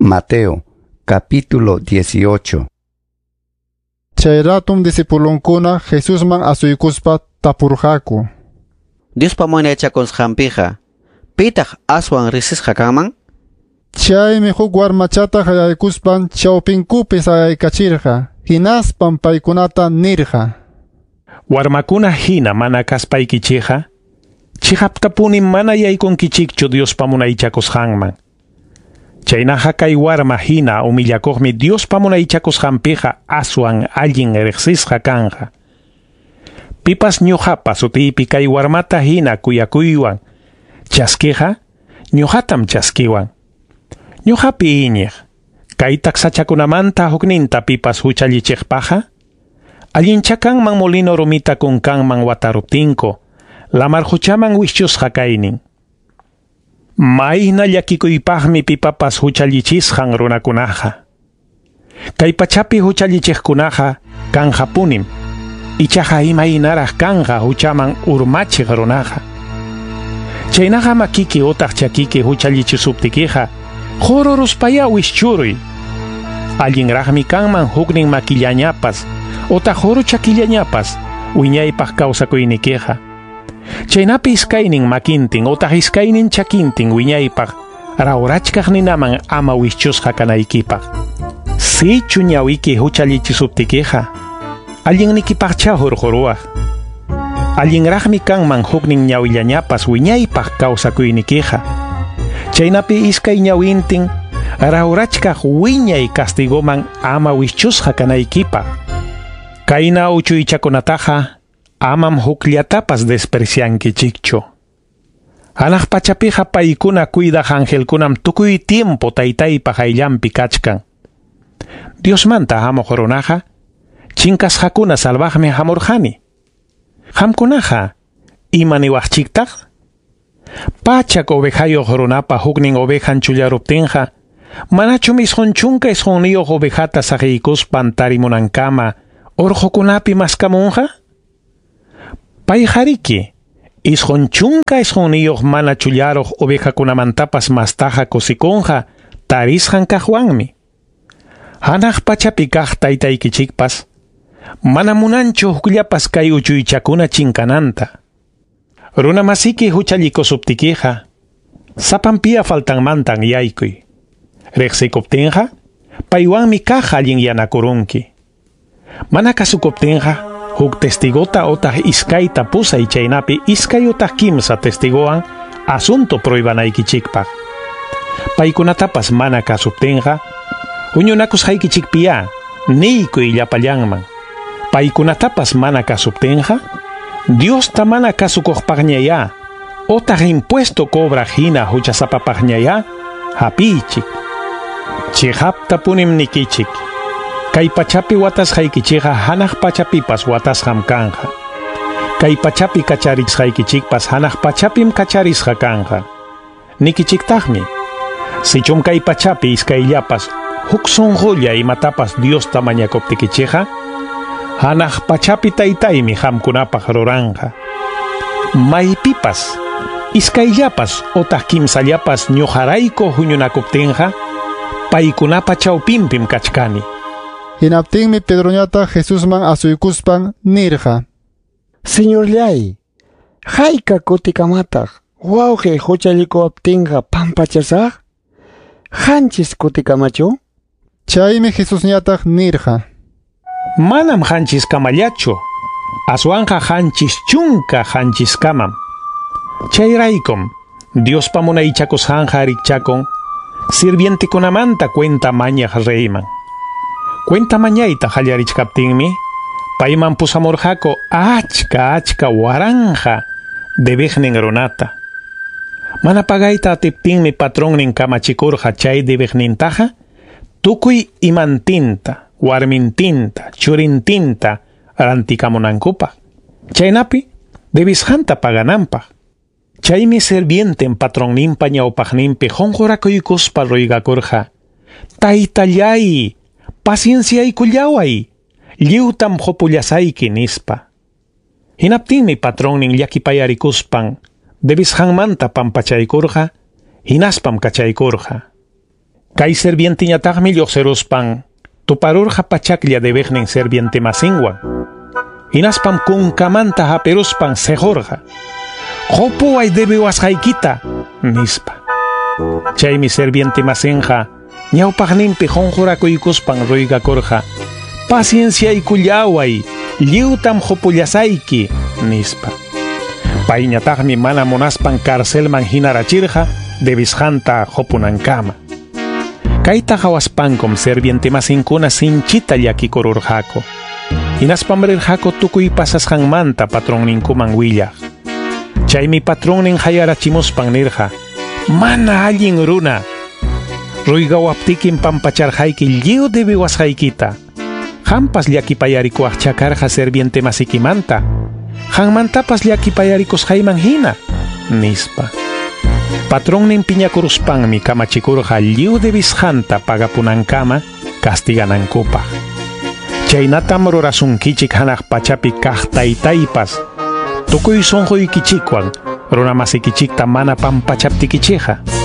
Mateo, capítulo 18. Chay ratum discipulonkuna Jesusman asuykuspa tapurqaku. Diospa munaychakusqanpiqa, pitaq aswan riqsisqa kanman? Chaymi huk warmachata hayaykuspan chawpinkupi sayaykachirqa, hinaspan paykunata nirqa. Warmakuna hina mana kaspaykichikqa, chiqaptapunim mana yaykunkichikchu Diospa munaychakusqanman. Chaynaqa kay warma hina humillakuqmi Diospa munaychakusqanpiqa aswan allin riqsisqa kanqa. Pipas ñuqapa sutiypi kay warmata hina kuyakuywan chaskiqa, ñuqatam chaskiwan. Ñuqapi iñiq, kay taksachakunamanta hukninta pipas huchallichiqpaqa, allincha kanman molino rumita kunkanman wataruptinku, lamar huchaman wischusqa kaynin. Mayna llakikuypaqmi pipapas huchallichisqan runakunaqa. Kay pachapi huchallichiqkunaqa kanqapunim, ichaqa imaynaraq kanqa huchaman urmachiq runaqa. Chaynaqa makiki utaq chakiki huchallichisuptikiqa, qururuspaya wischuruy. Allinraqmi kanman huknin makillañapas utaq quru chakillañapas wiñaypaq kawsakuynikiqa. Chaynapi iskaynin makintin utaq iskaynin chakintin wiñaypaq rawrachkaq ninaman ama wischusqa kanaykipaq. Sichu ñawiki huchallichisuptikiqa, allinnikipaqcha hurquruwaq. Allinraqmi kanman huknin ñawillañapas wiñaypaq kawsakuynikiqa. Chaynapi iskay ñawintin rawrachkaq wiñay castigoman ama wischusqa kanaykipaq. Kayna uchuychakunataqa amam hukllatapas despreciankichikchu. Hanaq pachapiqa paykuna cuidaq angelkunam tukuy tiempo taytaypa hayllanpi kachkan. Diosmanta hamuq runaqa chinkasqakuna salvaqmi hamurqani. Qamkunaqa ima niwaqchiktaq? Pachak ovejayuq runapa huknin ovejan chullaruptinqa, manachum 99 ovejata saqiykuspan tarimunankama urqukunapi maskamunqa? Payqariki, 99 mana chullaruq ovejakunamantapas mastaqa kusikunqa tarisqan kaqwanmi. Hanaq pachapi kaq taytaykichikpas, mana munanchu hukllapas kay uchuychakuna chinkananta. Runa masiki huchallikusuptikiqa, sapanpiya faltanmantan yaykuy. Riqsikuptinqa, paywanmi kaq allinyanakurunki. Mana kasukuptinqa, huk testigota otaq iskayta pusay chaynapi iskay otaq kimsa testigowan asunto prohibanaykichikpaq. Paykunatapas mana kasuptinqa, huñunakusqaykichikpiya niykuy llapallanman. Paykunatapas mana kasuptinqa, Diosta mana kasukuqpaqñaya, otaq impuesto cobraq hina huchasapapaqñaya, hapiychik. Chiqaptapunim nikichik. Kay pachapi watasqaykichikqa hanaq pachapipas watasqam kanqa. Kay pachapi kacharisqaykichikpas hanaq pachapim kacharisqa kanqa. Nikichiktaqmi, sichum kay pachapi iskayllapas huk sunqulla imatapas Diosta mañakuptikichikqa, hanaq pachapi taytaymi qamkunapaq ruranqa. Maypipas, iskayllapas otaq kimsallapas ñuqarayku huñunakuptinqa, paykunapa chawpinpim kachkani. Hinaptinmi Pedroñataq Jesusman asuykuspan nirqa. Señorllay, hayka kutikamataq wawqiy huchallikuwaptinqa pampachasaq? 7 kutikamachu? Chaymi Jesusñataq nirqa. Manam 7 kamallachu, aswanqa 77 kamam. Chayraykum Diospa munaychakusqanqa rikchakun sirvientekunamanta cuenta mañaq reyman. Cuenta mañayta qallarichkaptinmi, payman pusamurqaku achka achka waranja debiqnin runata. Mana pagayta atiptinmi patronnin kamachikurqa chay debiqnintaqa tukuy imantinta, warmintinta, churintinta rantikamunankupaq. Chaynapi debisqanta pagananpaq. Chaymi sirvienten patronninpa ñawpaqninpi qunqurakuykuspa ruygakurqa. Taytallay, pacienciaykullaway, lliwtam qupullasayki nispa. Hinaptinmi patronnin llakipayarikuspan debisqanmanta pampachaykurqa, hinaspam kachaykurqa. Kay servienteñataqmi lluqsiruspan tuparurqa pachaklla debiqnin serviente masinwan. Hinaspam kunkamanta hapiruspan sequrqa. Qupuway debiwasqaykita, nispa. Chaymi serviente masinqa ñawpaqninpi qunqurakuykuspan ruygakurqa. Pacienciaykullaway, lliwtam qupullasayki, nispa. Payñataqmi mana munaspan carcelman hinarachirqa debisqanta qupunankama. Kayta qhawaspankum serviente masinkuna sinchita llakikururqaku. Hinaspam rirqaku tukuy pasasqanmanta patronninkuman willaq. Chaymi patronnin hayarachimuspan nirqa: Mana allin runa, ruygawaptikim pampacharqayki lliw debiwasqaykita. Qampas llakipayarikuwaqcha karqa serviente masikimanta. Qanmantapas llakipayarikusqayman hina, nispa. Patronnin piñakuruspanmi kamachikurqa lliw debisqanta pagapunankama castiganankupaq. Chaynatam rurasunkichik hanaq pachapi kaq taytaypas tukuy sunquykichikwan runa masikichikta mana pampachaptikichikqa.